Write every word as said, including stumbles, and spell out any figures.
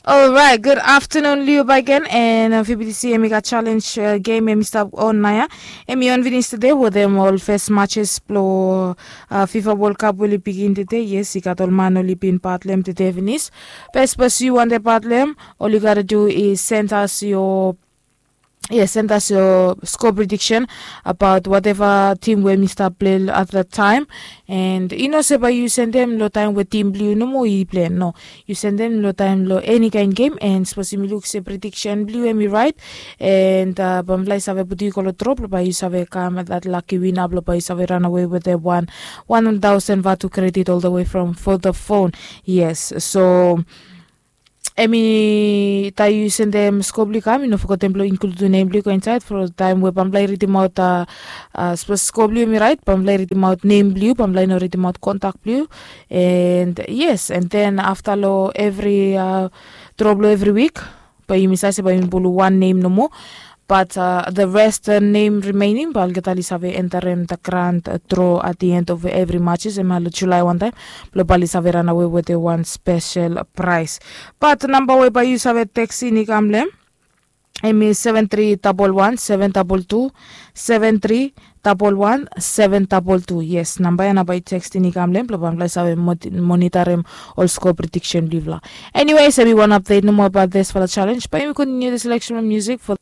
Alright, good afternoon liu bagen, and uh, fibidisi em i gat challenge uh, game em i stap on naya. Em i on finis tede wetem ol first matches blo uh, fifa world cup we oli bigin tede. Yes, i gat ol man oli bin batlem tede finis. Bes bes yu wante batlem, ol yu gata du i send us your Yes, send us your score prediction about whatever team we mi stap play at that time. And you know se bai yu sendem lo taim we tim bliu nomo i play, no, yu sendem lo taim lo any kind game. And suppose yumi luk se prediction bliu em i right, and uh, bamfala i save putu yu go lo drop lo bai yu save kam that lucky winner blo bai yu save run away with the one one thousand vatu credit all the way from for the phone. Yes, so em i taim yu sendem score blue kam, yu no fogetem blong inkludim nem blong yu go insaed for taim we bamfala i ridimaot. Sapos score blong yu em i raet, bamfala i ridimaot nem blong yu, bamfala i no ridimaot kontak blong yu. And yes, and then afta long evri dro blong evri wik, bae yumi save se bae yumi pulum wan nem nomo. Bat the rest nem remaining bae olgeta oli save enterem the grand dro at the end of evri matches em ya long Julae wantaem, blong bae oli save ranawe wetem wan spesel praes. Bat namba we bae yu save teksting i kam long em, em i seven three double one seven double two, seven three double one seven double two. Yes, namba ya nao bae yu teksting i kam long em blong bae mifala i save monitarem ol score prediction blong yufala. Anyways, em i wan update nomo about this fala challenge, bae yumi continue the selection of music for